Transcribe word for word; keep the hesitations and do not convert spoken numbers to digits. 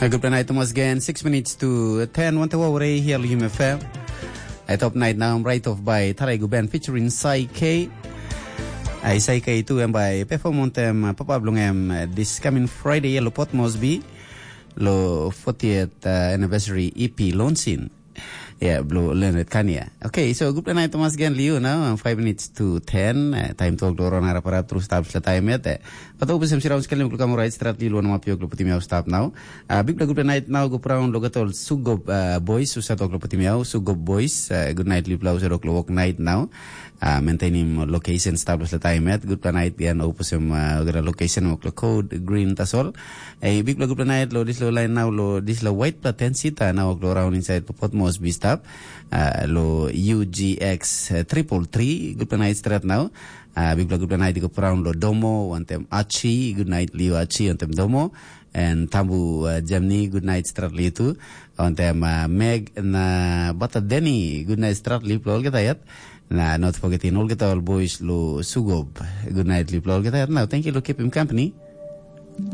Good night, Thomas again. Six minutes to ten. Wante wa ore here, Lume F M. At top night now, right off by Tarai Guben featuring Sai K. Ai Sai K tu em by perform ontem uh, papa blong em uh, this coming Friday lo Port Moresby lo fortieth uh, anniversary E P launching. Yeah, Blue Leonard Kania. Okay, so good night, Thomas again, Liu. Now, um, five minutes to ten. Uh, time talk lo rona raparap terus stap sila time yet. Uh, But open sem sirau sekali muklu kamu right strat Liu lo nama piok lo putim yau stap now. Uh, big good night now go proud lo gatol Sugob uh, boys usa talk lo putim yau Sugob boys. Uh, good night Liu plau sa lo work night now. Uh, maintaining location stap lo sila time yet. Good night again open sem uh, gara location muklu code green tasol. Ei, big good night lo this lo line now lo this lo white platensi ta now lo around inside lo Port Moresby stop. Uh, lo U G X uh, triple three. Good night straight now. Uh, big good night go around lo Domo wantem Achi. Good night Leo Achi wantem Domo. And Tambu uh, Germany. Good night straight Leo too. Wantem uh, Meg na Bata Denny. Good night straight Leo lo olgeta yet. Na not forgetting olgeta all boys lo Sugob. Good night Leo lo olgeta yet. Now thank you lo keep him company.